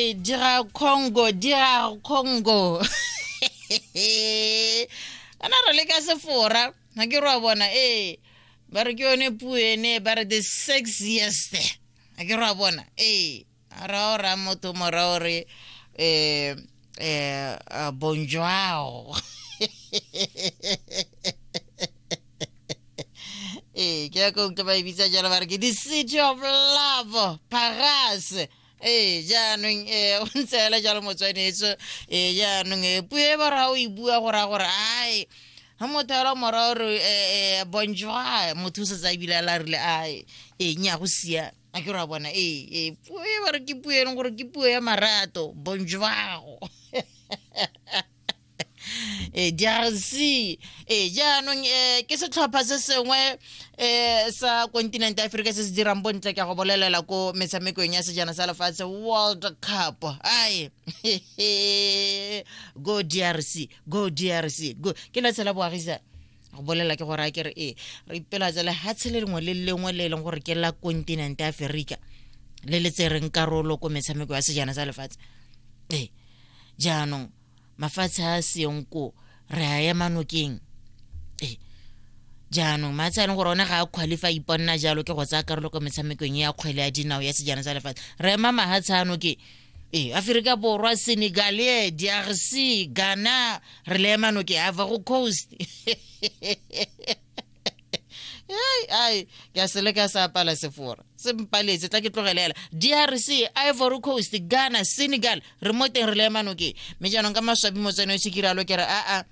Re dira Congo, dira Congo. Ana re le ka sefora, ga ke re wa bona ee ba re ke yone puo ene ba re the sexiest. Ga ke re wa bona ee ra o ra motho mora o re bonjour. Ee, ke ya ko utlwa ba e bitsa jalo ba re ke the city of love, Paris. Ee, jaanong o ntse fela jalo motswanetso. Ee, jaanong puo e ba ra o e bua go raya gore ai ga motho ela mora o re bonjour, motho o setse a ebile a la rile ai ee nya go sia a ke re wa bona. Ee, ee, puo e ba re ke puo e leng gore ke puo ya marato, bonjour. E DRC e jaanong ke setlhopha se sengwe sa kontinente ya Aforika se se dirang bontle ke go bolelela ko metshamekong ya sejana sa lefatshe World Cup. Ai go DRC, go DRC, go. Ke la tshela boagisa go bolela ke gore a ke re ee re ipelatsa lehatshe le lengwe le lengwe le e leng gore ke la kontinente ya Aforika le le tsereng karolo ko metshameko ya sejana sa lefatshe. Ee, jaanong mafatshe a seng ko re a ema nokeng. Ee, jaanong matshe a leng gore one ga a qualify iponna jalo ke go tsaya karolo ko metshamekong ya kgwele ya dinao ya sejana sa lefatshe, re ema mahatshe ano ke ee Aforika Borwa, Senegal, DRC, Ghana, re le ema nokeng, Ivory Coast. Ai ai ke a sele ka sa apala sefora se mpaletse, tla ke tlogelela. DRC, Ivory Coast, Ghana, Senegal, re mo teng re le ema nokeng. Mme jaanong ka maswabi motswane o se kiralo ke re aa